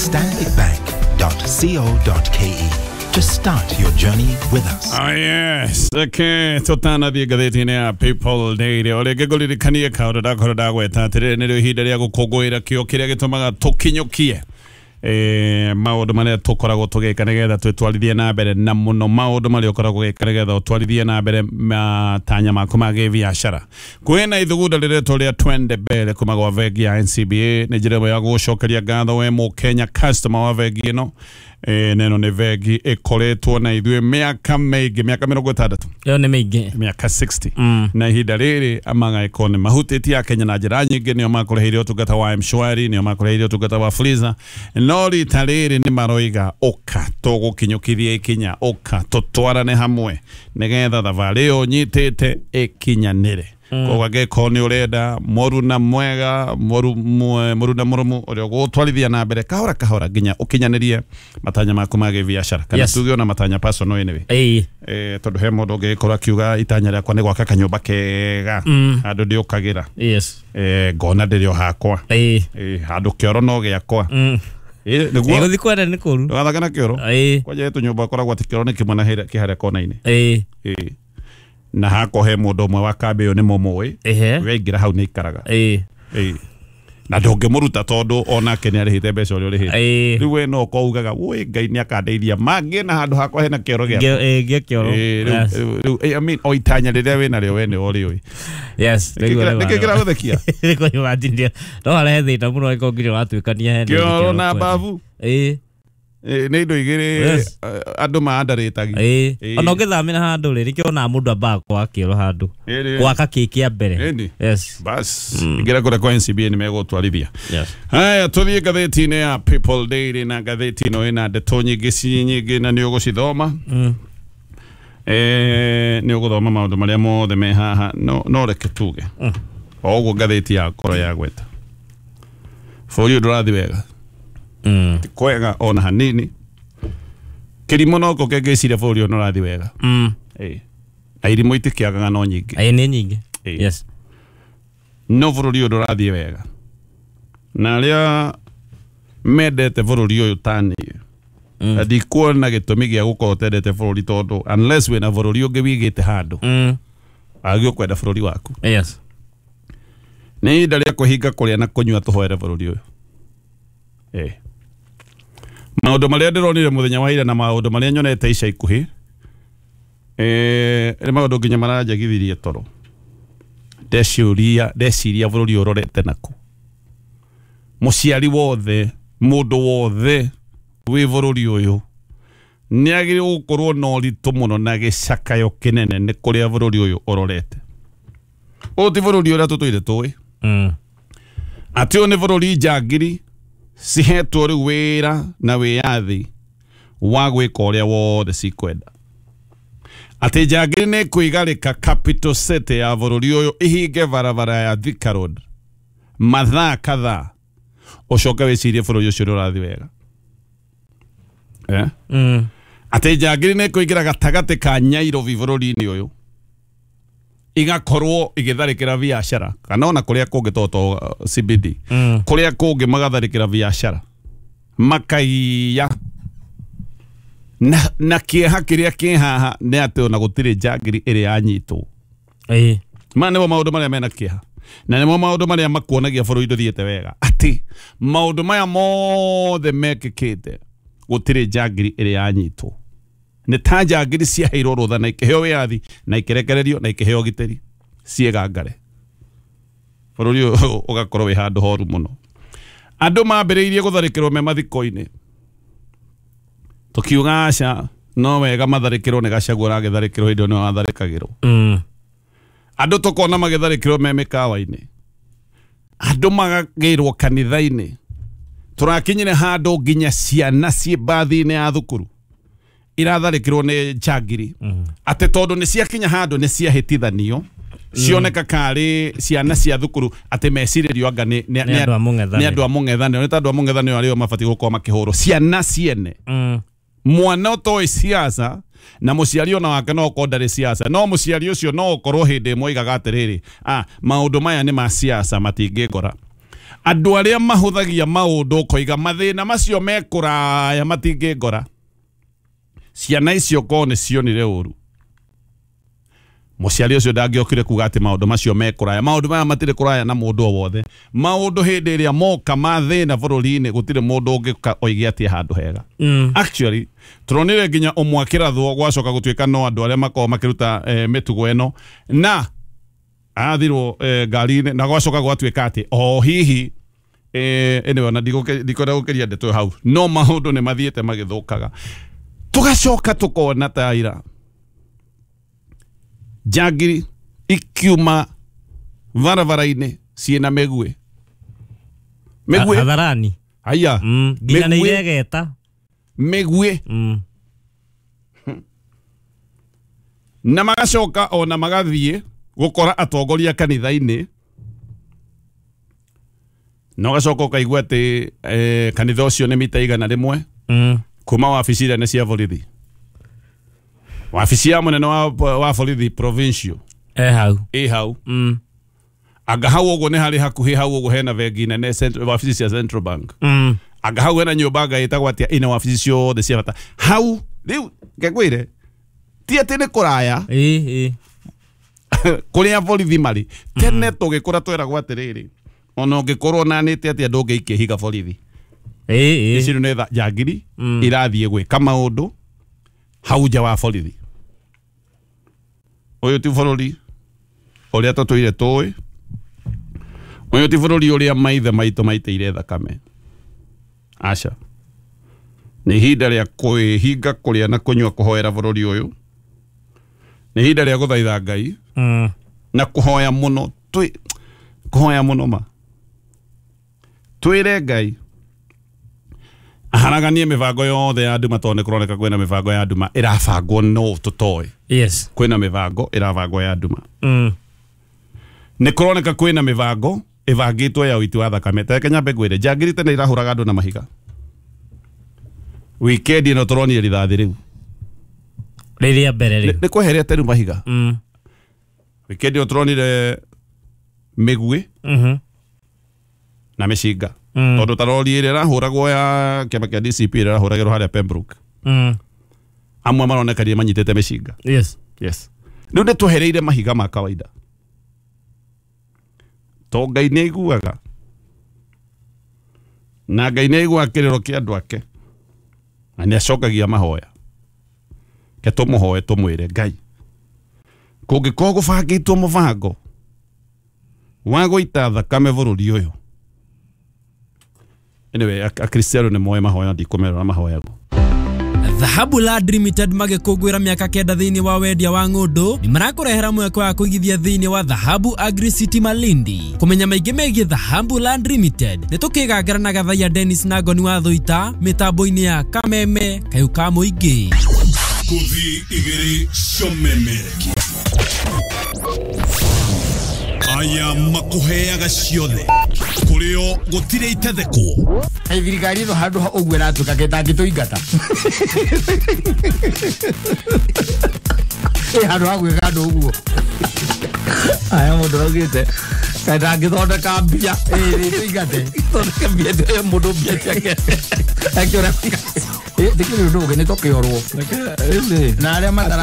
Stanbicbank.co.ke to start your journey with us. Ah, yes. Reke tũtanathiĩ ngathĩti-inĩ ya People Daily o rĩngĩ ngũririkanie kaũndũ ndakorwo ndagweta atĩrĩrĩ nĩrĩo ihinda rĩa gũkũngũĩra kĩo kĩrĩa gĩtũmaga tũkinyũkie maũndũ marĩa tũkoragwo tũgĩka nĩgetha twĩtwarithie na mbere na mũno maũndũ marĩa ũkoragwo ũgĩka nĩgetha ũtwarithie na mbere matanya maku ma gĩbiacara. Kwĩna ithugunda rĩretwo rĩa Twende Mbele kuma gwa bengi ya NCBA. Nĩ njĩra ĩmwe ya gũgũcokeria ngatho we mũkenya customer wa bengi ĩno. Neno nĩ bengi ĩkoretwo na ithuĩ mĩaka mĩingĩ, mĩaka 60. Ĩyo nĩ mĩingĩ. Mĩaka 60. Na ihinda rĩrĩ amagaĩkorwo nĩ mahutĩtie Akenya na njĩra nyingĩ, nĩo makũrĩhĩire ũtungata wa M-Shwari, nĩo makũrĩhĩire ũtungata wa Fuliza, no rita rĩrĩ nĩ maroiga ũka tũgũkinyũkithia ikinya, ũka tũtwarane hamwe nĩgetha thabarĩ ĩyo ũnyitĩte ĩkinyanĩre. Koguo angĩkorwo nĩ ũrenda mũruna mwega, mũruna mũrũmu ũrĩa ũgũtwarithia na mbere kahora kahora nginya ũkinyanĩrie matanya maku ma gĩbiacara kana tuge ona matanya personal anyway. Tondũ he mũndũ ũngĩgĩkorwo akiuga itanya rĩakwa nĩ gwaka kanyũmba kega handũ ndĩũkagĩra, ngona ndĩrĩ o hakwa, handũ kĩoro no gĩakwa. Nĩguo gũthiĩ kwenda nĩ kũru. Ndũgathake na kĩoro. Kwanja he tũnyũmba ũkoragwo atĩ kĩoro nĩ kĩmwe na kĩ harĩa kona-inĩ. Na hakwa he mũndũ ũmwe wa kambĩ ĩyo nĩ mũmũĩ, waingĩra hau nĩ aikaraga. Na ndũngĩmũruta tondũ onake nĩ arĩhĩte mbeca ũrĩa ũrĩhĩte. Rĩu we no ũkorwo ugaga woi Ngai nĩ akandeithia mangĩ na handũ hakwa hena kĩoro gĩakwa. Gĩa kĩoro. Rĩu I mean o itanya rĩrĩa wĩnarĩo we nĩwe ũrĩũĩ. Yes. Nĩkĩ kĩragũthekia? Nĩkũ imagine no harehe thĩna mũno angĩkorwo nginya ũratuĩkania he kĩoro na babu. Nĩ indo igĩrĩ andũ maandarĩtagi. Ona ũngĩthamĩra handũ rĩ, nĩkĩo onaga mũndũ ambaga gwaka kĩoro handũ. Gwaka kĩ kĩa mbere. Yes. Bas, ingĩra kũrĩa kwa NCBA nĩ megũtwarithia. Haya, tũthiĩ ngathĩti-inĩ ya People Daily na ngathĩti ĩno ĩna ndeto nyingĩ ci nyingĩ na nĩ ũgũcithoma. Nĩ ũgũthoma maũndũ marĩa mothe me haha, no reke tuge. O ũguo ngathĩti yakorwo yagweta. Bũrũri ũyũ ndũrathiĩ wega. Ti kwega ona hanini. Kĩrimũ no ko kĩngĩciria bũrũri ũyũ nĩũrathiĩ wega. Na irimũ itikĩagaga no nyingĩ. Nĩ nyingĩ. Yes. No bũrũri ũyũ ndũrathiĩ wega. Na arĩa mendete bũrũri ũyũ ta niĩ, ndikuona gĩtũmi gĩa gũkorwo ũtendete bũrũri tondũ unless wĩna bũrũri ũngĩ wĩigĩte handũ, wagĩrĩirwo kwenda bũrũri waku. Yes. Nĩ ihinda rĩa kwĩhinga kũrĩa na kũnyua tũhoere bũrũri ũyũ. Maũndũ marĩa ndĩronire mũthenya wa ira na maũndũ marĩa nyonete ica ikuhĩ, nĩ maũndũ nginya maranjagithirie toro. Ndeciria bũrũri ũyũ ũrorete nakũ. Mũciari wothe, mũndũ wothe wĩ bũrũri ũyũ nĩ agĩrĩirwo gũkorwo na ũritũ mũno na gĩcakayo kĩnene nĩ kũrĩa bũrũri ũyũ ũrorete. Ũyũ ti bũrũri ũrĩa tũtũire tũĩ. Atĩ ũyũ nĩ bũrũri njangiri cihetwo rĩu wĩra na wĩyathi wa gwĩka ũrĩa wothe cikwenda. Atĩ njangiri nĩ kwĩgarĩka capital city ya bũrũri ũyũ ihinge barabara ya Thika Road mathaa kadhaa, ũcoke wĩcirie bũrũri ũcio nĩ ũrathiĩ wega. Atĩ njangiri nĩ kũingĩra gatagatĩ ka Nyairobi bũrũri-inĩ ũyũ igakorwo igĩtharĩkĩra biacara kana ona kũrĩa kũngĩ to CBD, kũrĩa kũngĩ magatharĩkĩra biacara makaiya. Na kĩeha kĩrĩa kĩ haha nĩ atĩ ona gũtirĩ njangiri ĩrĩa yanyitwo. Maya nĩmo maũndũ marĩa mena kĩeha na nĩmo maũndũ marĩa makuonagia bũrũri ndũthiĩte wega, atĩ maũndũ maya mothe mekĩkĩte gũtirĩ njangiri ĩrĩa yanyitwo. Nĩ ta njangiri ciaheirwo rũtha na ikĩheo wĩyathi na ikĩrekererio na ikĩheo ũgitĩri ciĩgangare. Bũrũri ũyũ ũgakorwo wĩ handũ horu mũno. Andũ mambĩrĩirie gũtharĩkĩrwo me mathiko-inĩ, tũkiuga aca no wega matharĩkĩrwo nĩ Gachagua ũragĩtharĩkĩrwo hĩndĩ ĩyo nĩwe watharĩkagĩrwo. Andũ tũkona magĩtharĩkĩrwo me mĩkawa-inĩ, andũ magagĩrwo kanitha-inĩ. Tũrakinyire handũ nginya ciana ciĩ mbathi-inĩ ya thukuru iratharĩkĩrwo nĩ njangiri, atĩ tondũ nĩ ciakinya handũ nĩ ciahĩtithanio cioneka karĩ ciana cia thukuru atĩ mecirĩrio anga nĩ andũ a mũng'ethanĩro, nĩ ta andũ a mũng'ethanĩro arĩa mabatiĩ gũkorwo makĩhũrwo. Ciana ciene, mwana ũtoĩ siasa na mũciari ona wake no okorwo ndarĩ siasa, no mũciari ũcio no ũkorwo hĩndĩ ĩmwe oigaga atĩrĩrĩ, maũndũ maya nĩ ma siasa matingĩngora. Andũ arĩa mahũthagia maũndũ ũkoiga mathĩna macio me kũraya matingĩngora. Ciana icio korwo nĩ cionire ũru, mũciari ũcio ndangĩokire kuga atĩ maũndũ macio me kũraya. Maũndũ maya matirĩ kũraya na mũndũ o wothe. Maũndũ hĩndĩ ĩrĩa moka ma thĩna bũrũri-inĩ gũtirĩ mũndũ ũngĩũka oige atĩ handũ hega. Actually tũronire nginya ũmwe akĩrathwo gwacoka gũtuĩka no andũ arĩa makoragwo makĩruta mĩtugo ĩno na athirwo ngari-inĩ na gwacoka gwatuĩka atĩ o hihi anyway ona ndikwenda gũkĩria ndeto hau, no maũndũ nĩ mathiĩte magĩthũkaga. Tũgacoka tũkona ta ira njangiri ikiuma barabara-inĩ ciĩna mĩguĩ. Mĩguĩ hadharani. Haya. Nginya nĩ iregeta mĩguĩ. Na magacoka ona magathiĩ gũkora atongoria kanitha-inĩ, na ũgacoka ũkaigua atĩ kanitha ũcio nĩ mita 100 kuma wabici nene cia borithi. Wabici ya mũnene wa borithi provincial hau hau. Anga hau ũguo nĩ harĩ hakuhĩ hau ũguo hena bengi nene wabici cia Central Bank. Anga hau hena nyũmba anga ĩtagwo atĩa ĩna wabici ciothe cia bata hau. Rĩu ngekwĩre ti atĩ nĩ kũraya kũrĩa borithi marĩ. Tene tũgĩkũra tweragwo atĩrĩrĩ, ona ũngĩkorwo nanĩte atĩa ndũngĩikia ihiga borithi. Ici nĩ njangiri irathiĩ gwĩka maũndũ hau nja wa borithi. Ũyũ ti bũrũri ũrĩa tũtũire tũĩ. Ũyũ ti bũrũri ũrĩa maithe maitũ maitĩire thakame. Aca. Nĩ ihinda rĩa kwĩhinga kũrĩa na kũnyua kũhoera bũrũri ũyũ. Nĩ ihinda rĩa gũthaitha Ngai na kũhoya mũno, kũhoya mũno ma. Twĩre Ngai aharaganie mĩbango yothe ya nduma, tondũ nĩ kũroneka kwĩna mĩbango ya nduma ĩrabangwo no tũtoĩ. Yes. Kwĩna mĩbango ĩrabangwo ya nduma. Nĩ kũroneka kwĩna mĩbango ĩbangĩtwo ya ũiti wa thakame. Ta reke nyambe ngwĩre, njangiri tene irahũraga andũ na mahiga. Wikendi ĩno tũronire rithathi rĩu rĩrĩa mbere rĩu nĩ kweherete rĩu mahiga. Wikendi ĩno tũronire mĩguĩ na mĩcinga. Tondũ ta rori ĩrĩa ĩrahũragwo ya kĩama kĩa DCP ĩrĩa ĩrahũragĩrwo harĩa Pembroke, amwe maronekanie manyitĩte mĩcinga. Yes. Yes. Rĩu nĩ twehereire mahiga ma kawaida. To Ngai nĩ aiguaga, na Ngai nĩ aiguaga kĩrĩro kĩa andũ ake, na nĩ acokagia mahoya. Ke tũmũhoe tũmwĩre Ngai, kũngĩkorwo gũbangĩtwo mũbango wa gũita thakame bũrũri ũyũ. Anyway, Akristiano nĩ moe mahoya, ndikũmerora mahoyagwo. Dhahabu Land Limited magĩkũngũĩra mĩaka 9 thĩinĩ wa wendia wa ng'ũndũ nĩ marakũrehera mweke wa kũigithia thĩinĩ wa Dhahabu Agri City Malindi. Kũmenya maingĩ megiĩ Dhahabu Land Limited nĩ tũkĩgangara na Gathaiya Dennis na Ngoni wa Thũita mĩtambo-inĩ ya Kameme Kayũ ka Mũingĩ. Kuthi igĩrĩ cia aya makuheaga ciothe kũrĩo gũtirĩ itethekwo. Thirikari ĩno handũ ha ũguo ĩratuĩka gĩtangĩtũingata. Handũ ha gwĩka andũ ũguo. Aya mũndũ augĩte kaĩ ndangĩthondeka mbia. Tũingate. Thondeke mbia mũndũ mbia ciake. Akĩũra Ndĩkĩrĩ ũndũ ũngĩ nĩ tũkĩorwo. Na arĩa matara